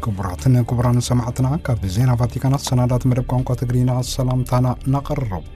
ክቡራትን ክቡራን ሰማዕትና፣ ካብ ዜና ቫቲካን ኣሰናዳት መደብ ቋንቋ ትግርኛ ሰላምታና እናቐረብ።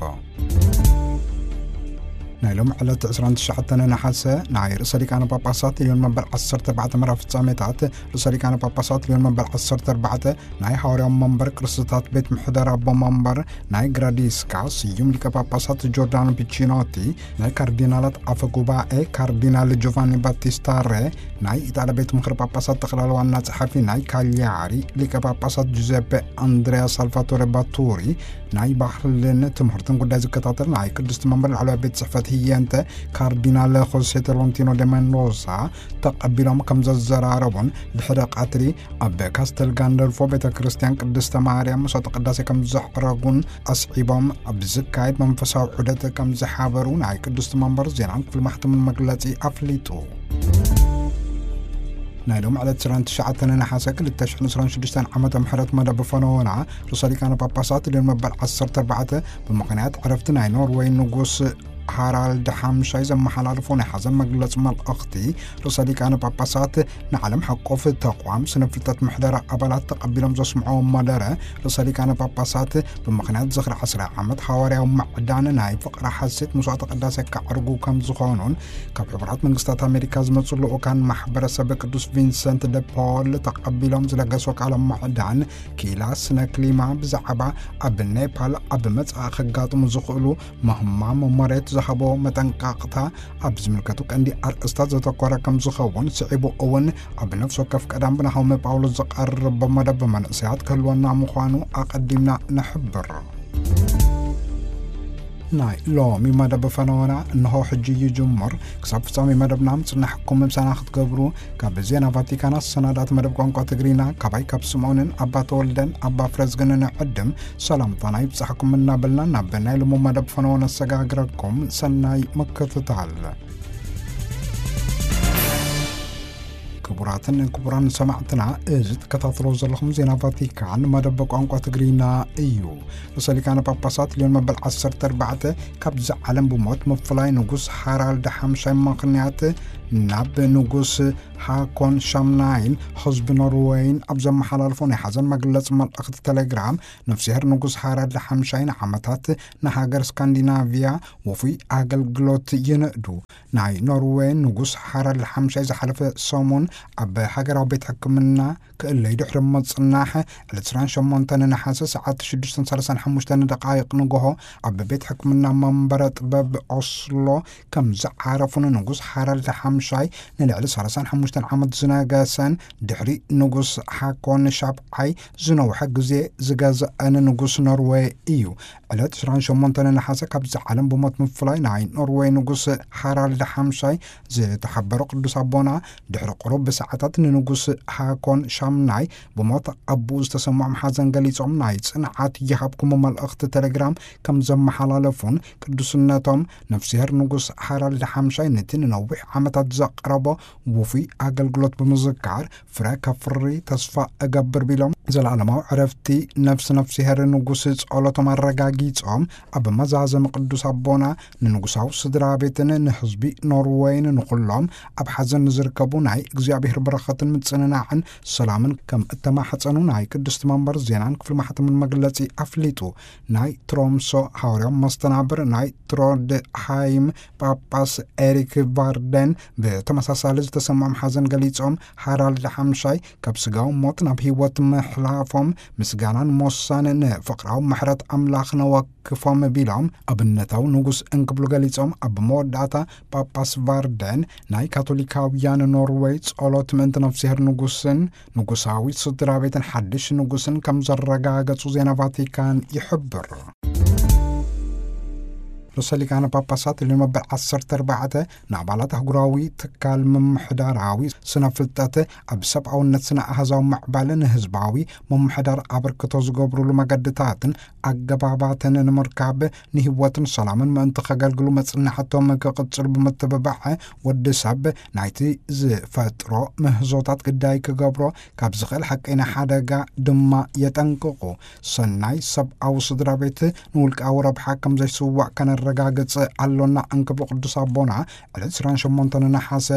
ናይ ሎም ዕለት ዕስራን ትሽዓተን ነሓሰ ናይ ርእሰ ሊቃነ ጳጳሳት ልዮን መበል ዓሰርተ ኣርባዕተ መርሃ ፍጻሜታት። ርእሰ ሊቃነ ጳጳሳት ልዮን መበል ዓሰርተ ኣርባዕተ ናይ ሃዋርያዊ መንበር ቅርስታት ቤት ምሕደራ ኣቦ መንበር ናይ ግራዲስካ፣ ስዩም ሊቀ ጳጳሳት ጆርዳኖ ፒቺኖቲ፣ ናይ ካርዲናላት ኣፈ ጉባኤ ካርዲናል ጆቫኒ ባቲስታ ሬ፣ ናይ ኢጣልያ ቤት ምኽሪ ጳጳሳት ጠቕላላ ዋና ጸሓፊ ናይ ካሊያሪ ሊቀ ጳጳሳት ጁዘፔ ኣንድሪያ ሳልቫቶሬ ባቱሪ፣ ናይ ባህልን ትምህርትን ጉዳይ ዝከታተል ናይ ቅድስቲ መንበር ላዕለዋይ ቤት ጽሕፈት ህየንተ ካርዲናል ሆሴ ቶሎንቲኖ ደ መንዶሳ ተቐቢሎም ከም ዘዘራረቡን፣ ድሕሪ ቀትሪ ኣብ ካስተል ጋንደልፎ ቤተ ክርስቲያን ቅድስተ ማርያም መስዋዕተ ቅዳሴ ከም ዘዕረጉን ኣስዒቦም፣ ኣብ ዝካየድ መንፈሳዊ ዑደት ከም ዝሓበሩ ናይ ቅድስቲ መንበር ዜናን ክፍሊ ማሕተምን መግለጺ ኣፍሊጡ። ናይ ሎም ዕለት ዕስራን ትሽዓተን ነሓሰ ክልተ ሽሕን ዕስራን ሽዱሽተን ዓመተ ምሕረት መደብ ፈነወና ርእሰ ሊቃነ ጳጳሳት ልዮን መበል ዓሰርተ ኣርባዕተ ብምኽንያት ዕረፍቲ ናይ ኖርዌይ ንጉስ ሃራልድ ሓምሻይ ዘመሓላልፎ ናይ ሓዘን መግለጺ መልእኽቲ፣ ርእሰ ሊቃነ ጳጳሳት ንዓለም ሓቆፍ ተቋም ስነ ፍልጠት ምሕደራ ኣባላት ተቐቢሎም ዘስምዕዎ መደረ፣ ርእሰ ሊቃነ ጳጳሳት ብምኽንያት ዝኽሪ ዓስራይ ዓመት ሃዋርያዊ ማዕዳን ናይ ፍቕሪ ሓሴት መስዋዕተ ቅዳሴ ከዕርጉ ከም ዝኾኑን፣ ካብ ሕቡራት መንግስታት ኣሜሪካ ዝመጹ ልኡካን ማሕበረሰብ ቅዱስ ቪንሰንት ደ ፖል ተቐቢሎም ዝለገሶ ቃለ ማዕዳን፣ ኪላ ስነ ክሊማ ብዛዕባ ኣብ ኔፓል ኣብ መጻኢ ከጋጥሙ ዝኽእሉ ምህማም መሬት ዝሃቦ መጠንቀቕታ፣ ኣብ ዝምልከቱ ቀንዲ ኣርእስታት ዘተኮረ ከም ዝኸውን ስዒቡ እውን፣ ኣብ ነፍሲ ወከፍ ቀዳም ብናሆመ ጳውሎስ ዝቐርብ መደብ መንእሰያት ክህልወና ምዃኑ ኣቐዲምና ንሕብር። ናይ ሎሚ መደብ ፈነወና እንሆ ሕጂ ይጅምር። ክሳብ ፍጻሜ መደብና ምጽናሕኩም ምሳና ክትገብሩ ካብ ዜና ቫቲካን ኣሰናዳእቲ መደብ ቋንቋ ትግርኛ ካባይ ካብ ስምዖንን ኣባ ተወልደን ኣባ ፍረዝግን ንዕድም ሰላምታና ይብጻሕኩም እናበልና፣ ናብ ናይ ሎሚ መደብ ፈነወ ነሰጋግረኩም። ሰናይ ምክትታል። ክቡራትን ክቡራን ሰማዕትና፣ እዚ ትከታተሎ ዘለኹም ዜና ቫቲካን መደብ ቋንቋ ትግርኛ እዩ። ርእሰ ሊቃነ ጳጳሳት ልዮን መበል ዓሰርተ ኣርባዕተ ካብዚ ዓለም ብሞት ምፍላይ ንጉስ ሃራልድ ሓምሻይ ምኽንያት፣ ናብ ንጉስ ሃኮን ሻምናይን ህዝቢ ኖርወይን ኣብ ዘመሓላልፎ ናይ ሓዘን መግለጺ መልእኽቲ ቴሌግራም፣ ነፍስሄር ንጉስ ሃራልድ ሓምሻይ ንዓመታት ንሃገር ስካንዲናቪያ ውፉይ ኣገልግሎት ይንእዱ። ናይ ኖርወይ ንጉስ ሃራልድ ሓምሻይ ዝሓለፈ ሰሙን ኣብ ሃገራዊ ቤት ሕክምና ክእለዩ ድሕሪ ምጽናሕ፣ ዕለት ዕስራን ሸሞንተን ነሓሰ ሰዓት ሽዱሽተን ሰላሳን ሓሙሽተን ደቃይቕ ንግሆ ኣብ ቤት ሕክምና መንበረ ጥበብ ኦስሎ ከም ዝዓረፉን፣ ንጉስ ሃራልድ ሓምሻይ ንልዕሊ ሰላሳን ሓሙሽተን ዓመት ዝነገሰን፣ ድሕሪ ንጉስ ሃኮን ሻብዓይ ዝነውሐ ግዜ ዝገዝአን ንጉስ ኖርወይ እዩ። ዕለት ዕስራን ሸሞንተን ነሓሰ ካብዚ ዓለም ብሞት ምፍላይ ናይ ኖርወይ ንጉስ ሃራልድ ሓምሻይ ዝተሓበሩ ቅዱስ ኣቦና፣ ድሕሪ ቁሩብ ሰዓታት ንንጉስ ሃኮን ሻምናይ ብሞት ኣቦኡ ዝተሰምዖም ሓዘን ገሊጾም፣ ናይ ጽንዓት ይሃብኩም መልእኽቲ ቴሌግራም ከም ዘመሓላለፉን፣ ቅዱስነቶም ነፍስሄር ንጉስ ሃራልድ ሓምሻይ ነቲ ንነዊሕ ዓመታት ዘቕረቦ ውፉይ ኣገልግሎት ብምዝካር፣ ፍረ ከፍሪ ተስፋ እገብር ቢሎም፣ ዘለኣለማዊ ዕረፍቲ ነፍሲ ነፍስሄር ንጉስ ጸሎቶም ኣረጋጊጾም፣ ኣብ መዛዘሚ ቅዱስ ኣቦና ንንጉሳዊ ስድራ ቤትን ንህዝቢ ኖርወይን ንኹሎም ኣብ ሓዘን ንዝርከቡ ናይ እግዚኣብሔር በረኸትን ምጽንናዕን ሰላምን ከም እተማሕጸኑ ናይ ቅድስቲ መንበር ዜናን ክፍሊ ማሕተምን መግለጺ ኣፍሊጡ። ናይ ትሮምሶ ሃዋርያዊ መስተናብር ናይ ትሮድሃይም ጳጳስ ኤሪክ ቫርደን ብተመሳሳሊ ዝተሰምዖም ሓዘን ገሊጾም፣ ሃራልድ ሓምሻይ ካብ ስጋዊ ሞት ናብ ህይወት ምሕላፎም ምስጋናን ሞሳን ንፍቕራዊ ምሕረት ኣምላኽ ነወክፎም ቢሎም ኣብነታዊ ንጉስ እንክብሉ ገሊጾም፣ ኣብ መወዳእታ ጳጳስ ቫርደን ናይ ካቶሊካውያን ኖርወይ ጸሎት ምእንቲ ነፍስሄር ንጉስን ንጉሳዊ ስድራ ቤትን ሓድሽ ንጉስን ከም ዘረጋገጹ ዜና ቫቲካን ይሕብር። ርእሰ ሊቃነ ጳጳሳት ልዮን መበል ዓሰርተ ኣርባዕተ ንኣባላት ኣህጉራዊ ትካል ምምሕዳራዊ ስነ ፍልጠት ኣብ ሰብኣውነት ስነ ኣሃዛዊ ምዕባለን ህዝባዊ ምምሕዳር ኣበርክቶ ዝገብሩሉ መገድታትን ኣገባባትን ንምርካብ ንህይወትን ሰላምን ምእንቲ ከገልግሉ መጽናዕቶም ክቕጽሉ ብምትብባዕ ወዲ ሰብ ናይቲ ዝፈጥሮ ምህዞታት ግዳይ ክገብሮ ካብ ዝኽእል ሓቀይና ሓደጋ ድማ የጠንቅቑ። ሰናይ ሰብኣዊ ስድራ ቤት ንውልቃዊ ረብሓ ከም ዘይስዋእ ከነ ረጋግጽ ኣሎና እንክብሉ ቅዱስ ኣቦና ዕለት ዕስራን ሸሞንተን ነሓሰ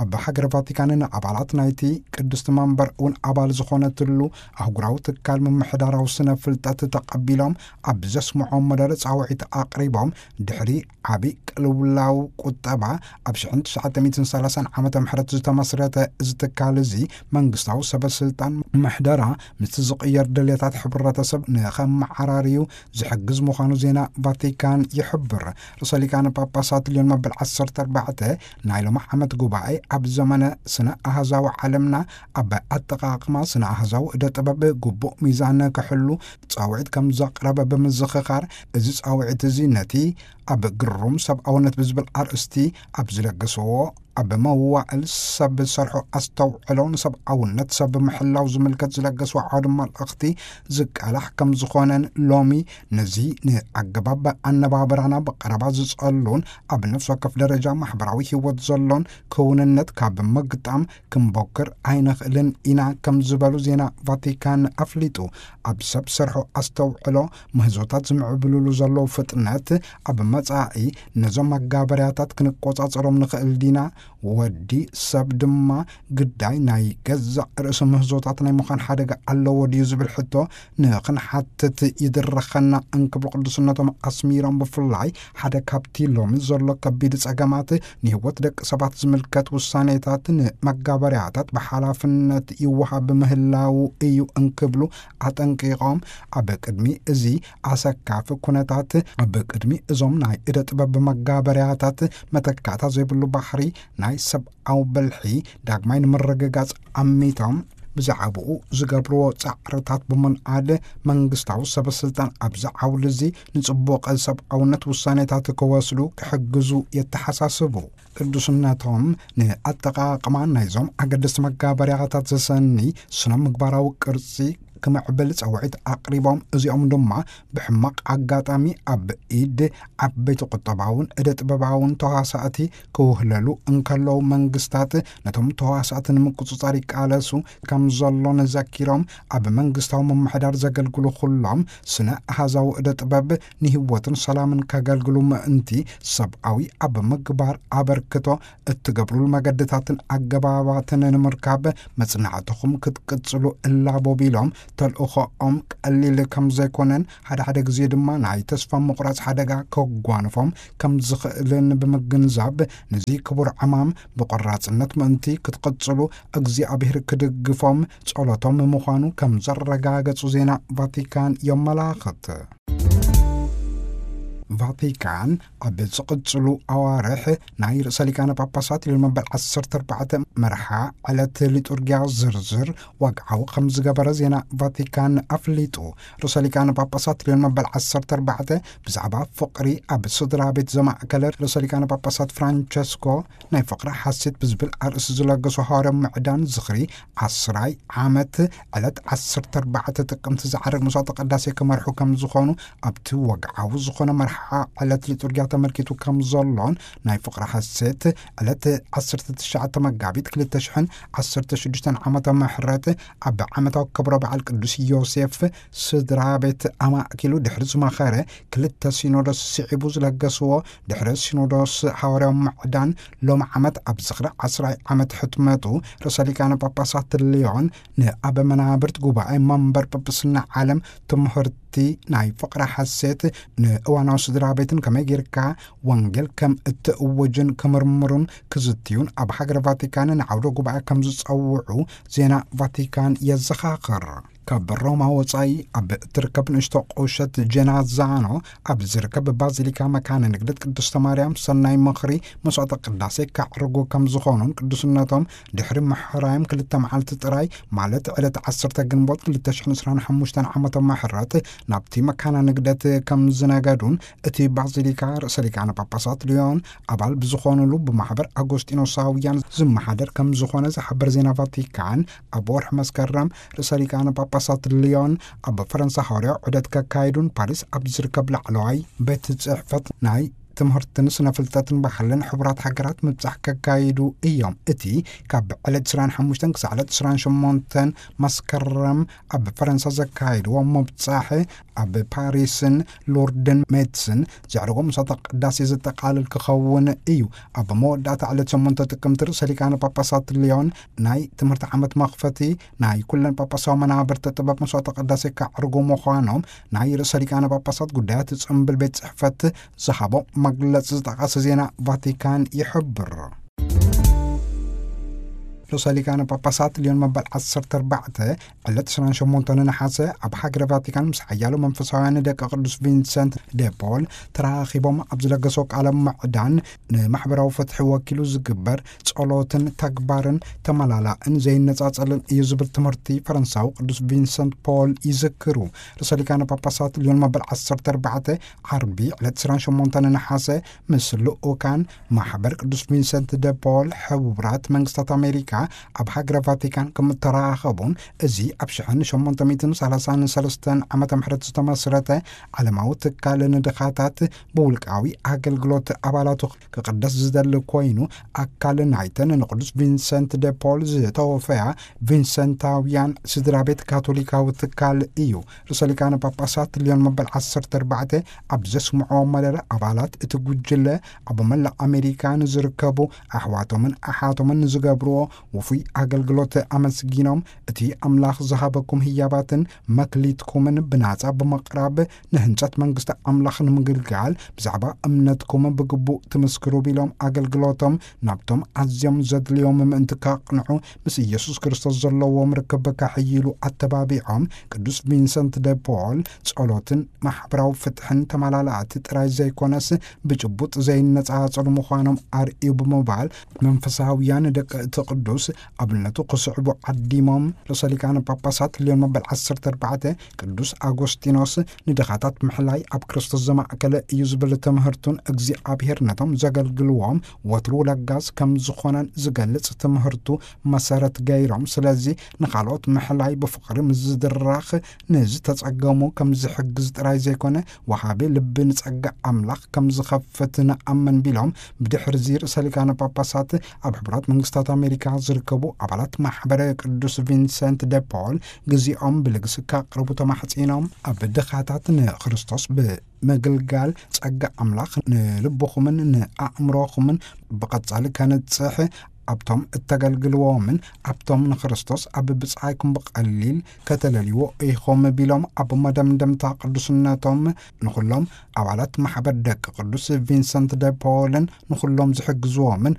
ኣብ ሃገረ ቫቲካን ንኣባላት ናይቲ ቅድስቲ መንበር እውን ኣባል ዝኾነትሉ ኣህጉራዊ ትካል ምምሕዳራዊ ስነ ፍልጠት ተቐቢሎም ኣብ ዘስምዖም መደረ ጻውዒት ኣቕሪቦም ድሕሪ ዓቢ ቅልውላው ቁጠባ ኣብ ሽሕን ትሽዓተ ሚእትን ሰላሳን ዓመተ ምሕረት ዝተመስረተ እዚ ትካል እዚ መንግስታዊ ሰበ ስልጣን ምሕደራ ምስቲ ዝቕየር ድሌታት ሕብረተሰብ ንኸመዓራርዩ ዝሕግዝ ምዃኑ ዜና ቫቲካን ይሕብር። ርእሰ ሊቃነ ጳጳሳት ልዮን መበል ዓሰርተ ኣርባዕተ ናይ ሎሚ ዓመት ጉባኤ ኣብ ዘመነ ስነ ኣሃዛዊ ዓለምና ኣብ ኣጠቓቕማ ስነ ኣሃዛዊ እደ ጥበብ ግቡእ ሚዛን ክሕሉ ጻውዒት ከም ዘቕረበ ብምዝኽኻር፣ እዚ ጻውዒት እዚ ነቲ ኣብ ግሩም ሰብኣውነት ብዝብል ኣርእስቲ ኣብ ዝለገስዎ ኣብ መዋእል ሰብ ዝሰርሖ ኣስተውዕሎ ንሰብኣውነት ሰብ ምሕላው ዝምልከት ዝለገስዎ ዓውዲ መልእኽቲ ዝቃላሕ ከም ዝኾነን ሎሚ ነዚ ንኣገባብ ኣነባብራና ብቐረባ ዝጸሉን ኣብ ነፍሲ ወከፍ ደረጃ ማሕበራዊ ህይወት ዘሎን ክውንነት ካብ ምግጣም ክንቦክር ኣይንኽእልን ኢና ከም ዝበሉ ዜና ቫቲካን ኣፍሊጡ። ኣብ ሰብ ሰርሖ ኣስተውዕሎ ምህዞታት ዝምዕብልሉ ዘለዉ ፍጥነት ኣብ መጻኢ ነዞም መጋበርያታት ክንቆጻጸሮም ንኽእል ዲና? ወዲ ሰብ ድማ ግዳይ ናይ ገዛእ ርእሱ ምህዞታት ናይ ምዃን ሓደጋ ኣለዎ ድዩ ዝብል ሕቶ ንኽንሓትት ይድረኸና እንክብሉ ቅዱስነቶም ኣስሚሮም፣ ብፍላይ ሓደ ካብቲ ሎሚ ዘሎ ከቢድ ጸገማት ንህይወት ደቂ ሰባት ዝምልከት ውሳኔታት ንመጋበርያታት ብሓላፍነት ይወሃብ ምህላው እዩ እንክብሉ ኣጠንቂቖም፣ ኣብ ቅድሚ እዚ ኣሰካፊ ኩነታት ኣብ ቅድሚ እዞም ናይ እደ ጥበብ መጋበርያታት መተካእታ ዘይብሉ ባሕሪ ናይ ሰብኣዊ ብልሒ ዳግማይ ንምርግጋጽ ኣሚቶም ብዛዕባኡ ዝገብርዎ ጻዕርታት ብምንኣድ መንግስታዊ ሰበ ስልጣን ኣብዚ ዓውዲ እዚ ንጽቡቕ ሰብኣውነት ውሳኔታት ክወስዱ ክሕግዙ የተሓሳስቡ። ቅዱስነቶም ንኣጠቓቕማ ናይዞም ኣገደስቲ መጋበርያታት ዘሰኒ ስነ ምግባራዊ ቅርጺ ክምዕብል ጸውዒት ኣቕሪቦም፣ እዚኦም ድማ ብሕማቕ ኣጋጣሚ ኣብ ኢድ ዓበይቲ ቁጠባውን እደ ጥበባውን ተዋሳእቲ ክውህለሉ እንከለዉ መንግስታት ነቶም ተዋሳእቲ ንምቁጽጻር ይቃለሱ ከም ዘሎን ዘኪሮም፣ ኣብ መንግስታዊ ምምሕዳር ዘገልግሉ ኩሎም ስነ ኣሃዛዊ እደ ጥበብ ንህይወትን ሰላምን ከገልግሉ ምእንቲ ሰብኣዊ ኣብ ምግባር ኣበርክቶ እትገብሩሉ መገድታትን ኣገባባትን ንምርካብ መጽናዕትኹም ክትቅጽሉ እላቦ ቢሎም፣ ተልእኾኦም ቀሊል ከም ዘይኮነን ሓደ ሓደ ግዜ ድማ ናይ ተስፋ ምቑራጽ ሓደጋ ከጓንፎም ከም ዝኽእልን ብምግንዛብ፣ ነዚ ክቡር ዕማም ብቆራጽነት ምእንቲ ክትቅጽሉ እግዚኣብሔር ክድግፎም ጸሎቶም ምዃኑ ከም ዘረጋገጹ ዜና ቫቲካን የመላኽት። ቫቲካን ኣብ ዝቕጽሉ ኣዋርሕ ናይ ርእሰ ሊቃነ ጳጳሳት ሊዮን መበል ዓሰርተ ኣርባዕተ መርሓ ዕለት ሊጡርጊያ ዝርዝር ዋግዓዊ ከም ዝገበረ ዜና ቫቲካን ኣፍሊጡ። ርእሰ ሊቃነ ጳጳሳት ሊዮን መበል ዓሰርተ ኣርባዕተ ብዛዕባ ፍቕሪ ኣብ ስድራ ቤት ዘማእከለ ርእሰ ሊቃነ ጳጳሳት ፍራንቸስኮ ናይ ፍቕሪ ሓሴት ብዝብል ኣርእስቲ ዝለገሱ ሃዋርያዊ ምዕዳን ዝኽሪ ዓስራይ ዓመት ዕለት ዓሰርተ ኣርባዕተ ጥቅምቲ ዝዓርግ መስዋዕተ ቅዳሴ ክመርሑ ከም ዝኾኑ ኣብቲ ወግዓዊ ዝኾነ መርሓ ዕለት ሊጡርጊያ ተመልኪቱ ከም ዘሎን ናይ ፍቕሪ ሓሴት ዕለት ዓሰርተ ትሽዓተ መጋቢት ክልተ ሽሕን ዓሰርተ ሽዱሽተን ዓመተ ምሕረት ኣብ ዓመታዊ ክብረ በዓል ቅዱስ ዮሴፍ ስድራ ቤት ኣማእኪሉ ድሕሪ ዝመኸረ ክልተ ሲኖዶስ ስዒቡ ዝለገስዎ ድሕሪ ሲኖዶስ ሃዋርያዊ ምዕዳን ሎም ዓመት ኣብ ዝኽሪ ዓስራይ ዓመት ሕትመቱ ርእሰ ሊቃነ ጳጳሳት ልዮን ንኣበ መናብርት ጉባኤ መንበር ጳጳስና ዓለም ትምህርቲ ናይ ፍቕሪ ሓሴት ንእዋናዊ ስድራ ቤትን ከመይ ጌርካ ወንጌል ከም እትእውጅን ክምርምሩን ክዝትዩን ኣብ ሃገረ ቫቲካን ንዓውደ ጉባኤ ከም ዝጸውዑ ዜና ቫቲካን የዘኻኽር። ካብ ሮማ ወጻኢ ኣብ እትርከብ ንእሽቶ ቁሸት ጀናዛኖ ኣብ ዝርከብ ባዚሊካ መካነ ንግደት ቅድስተ ማርያም ሰናይ ምኽሪ መስዋዕተ ቅዳሴ ከዕርጉ ከም ዝኾኑን ቅዱስነቶም ድሕሪ ምሕራዮም ክልተ መዓልቲ ጥራይ ማለት ዕለት ዓሰርተ ግንቦት ክልተ ሽሕን ዕስራን ሓሙሽተን ዓመተ ምሕረት ናብቲ መካነ ንግደት ከም ዝነገዱን እቲ ባዚሊካ ርእሰ ሊቃነ ጳጳሳት ልዮን ኣባል ብዝኾኑሉ ብማሕበር ኣጎስጢኖሳውያን ዝመሓደር ከም ዝኾነ ዝሓበር ዜና ቫቲካን ኣብ ወርሒ መስከረም ርእሰ ሊቃነ ጳጳሳት ልዮን ኣብ ፈረንሳ ሃዋርያዊ ዑደት ከካይዱን ፓሪስ ኣብ ዝርከብ ላዕለዋይ ቤት ጽሕፈት ናይ ትምህርትን ስነ ፍልጠትን ባህልን ሕቡራት ሃገራት ምብጻሕ ከካይዱ እዮም። እቲ ካብ ዕለት ዕስራን ሓሙሽተን ክሳዕ ዕለት ዕስራን ሸሞንተን መስከረም ኣብ ፈረንሳ ዘካይድዎ ምብጻሕ፣ ኣብ ፓሪስን ሎርድን ሜትስን ዘዕርጎ ምሳተ ቅዳሴ ዘጠቓልል ክኸውን እዩ። ኣብ መወዳእታ ዕለት ሸሞንተ ጥቅምቲ ርእሰ ሊቃነ ጳጳሳት ሊዮን ናይ ትምህርቲ ዓመት መኽፈቲ ናይ ኩለን ጳጳሳዊ መናብርቲ ጥበብ መስዋዕተ ቅዳሴ ከዕርጉ ምዃኖም ናይ ርእሰ ሊቃነ ጳጳሳት ጉዳያት ጽምብል ቤት ጽሕፈት ዝሃቦ መግለጺ ዝጠቐሰ ዜና ቫቲካን ይሕብር። ርእሰ ሊቃነ ጳጳሳት ሊዮን መበል ዓሰርተ ኣርባዕተ ዕለት ዕስራን ሸሞንተን ነሓሰ ኣብ ሃገረ ቫቲካን ምስ ሓያሎ መንፈሳውያን ደቂ ቅዱስ ቪንሰንት ደ ፖል ተራኺቦም ኣብ ዝለገሶ ቃለ ምዕዳን፣ ንማሕበራዊ ፍትሒ ወኪሉ ዝግበር ጸሎትን ተግባርን ተመላላእን ዘይነጻጸልን እዩ ዝብል ትምህርቲ ፈረንሳዊ ቅዱስ ቪንሰንት ፖል ይዝክሩ። ርእሰ ሊቃነ ጳጳሳት ሊዮን መበል ዓሰርተ ኣርባዕተ ዓርቢ ዕለት ዕስራን ሸሞንተን ነሓሰ ምስ ልኡካን ማሕበር ቅዱስ ቪንሰንት ደ ፖል ሕቡራት መንግስታት ኣሜሪካ ኣብ ሃገረ ቫቲካን ከም እተራኸቡን፣ እዚ ኣብ ሽሕን ሸሞንተ ሚእትን ሰላሳን ሰለስተን ዓመተ ምሕረት ዝተመስረተ ዓለማዊ ትካል ንድኻታት ብውልቃዊ ኣገልግሎት ኣባላቱ ክቕደስ ዝደሊ ኮይኑ፣ ኣካል ናይተን ንቅዱስ ቪንሰንት ደ ፖል ዝተወፈያ ቪንሰንታውያን ስድራ ቤት ካቶሊካዊ ትካል እዩ። ርእሰ ሊቃነ ጳጳሳት ሊዮን መበል ዓሰርተ ኣርባዕተ ኣብ ዘስምዖ መደረ፣ ኣባላት እቲ ጉጅለ ኣብ መላእ ኣሜሪካ ንዝርከቡ ኣሕዋቶምን ኣሓቶምን ንዝገብርዎ ውፉይ ኣገልግሎት ኣመስጊኖም፣ እቲ ኣምላኽ ዝሃበኩም ህያባትን መክሊትኩምን ብናጻ ብምቕራብ ንህንጸት መንግስቲ ኣምላኽ ንምግልጋል ብዛዕባ እምነትኩም ብግቡእ ትምስክሩ ቢሎም፣ ኣገልግሎቶም ናብቶም ኣዝዮም ዘድልዮም ምእንቲ ከቕንዑ ምስ ኢየሱስ ክርስቶስ ዘለዎም ርክብ ከሕይሉ ኣተባቢዖም። ቅዱስ ቪንሰንት ደ ፖል ጸሎትን ማሕበራዊ ፍትሕን ተመላላእቲ ጥራይ ዘይኮነስ ብጭቡጥ ዘይነጻጸሉ ምዃኖም ኣርእዩ ብምባል፣ መንፈሳውያን ደቂ እቲ ቅዱስ ኣብነቱ ክስዕቡ ዓዲሞም። ርእሰ ሊቃነ ጳጳሳት ሊዮን መበል ዓሰርተ ኣርባዕተ ቅዱስ ኣጎስጢኖስ ንድኻታት ምሕላይ ኣብ ክርስቶስ ዘማእከለ እዩ ዝብል ትምህርቱን እግዚኣብሔር ነቶም ዘገልግልዎም ወትሩ ለጋስ ከም ዝኾነን ዝገልጽ ትምህርቱ መሰረት ገይሮም፣ ስለዚ ንኻልኦት ምሕላይ ብፍቕሪ ምስ ዝድረኽ ንዝተጸገሙ ከም ዝሕግዝ ጥራይ ዘይኮነ፣ ወሃቢ ልቢ ንጸጋ ኣምላኽ ከም ዝኸፍት ንኣምን ቢሎም፣ ብድሕርዚ ርእሰ ሊቃነ ጳጳሳት ኣብ ሕቡራት መንግስታት ኣሜሪካ ዝርከቡ ኣባላት ማሕበረ ቅዱስ ቪንሰንት ደ ፖል ግዜኦም ብልግሲ ከቕርቡ ተማሕጺኖም፣ ኣብ ድኻታት ንክርስቶስ ብምግልጋል ጸጋ ኣምላኽ ንልብኹምን ንኣእምሮኹምን ብቐጻሊ ከንጽሕ፣ ኣብቶም እተገልግልዎምን ኣብቶም ንክርስቶስ ኣብ ብጻይኩም ብቐሊል ከተለልይዎ ኢኹም ቢሎም፣ ኣብ መደምደምታ ቅዱስነቶም ንኹሎም ኣባላት ማሕበር ደቂ ቅዱስ ቪንሰንት ደ ፖልን ንኹሎም ዝሕግዝዎምን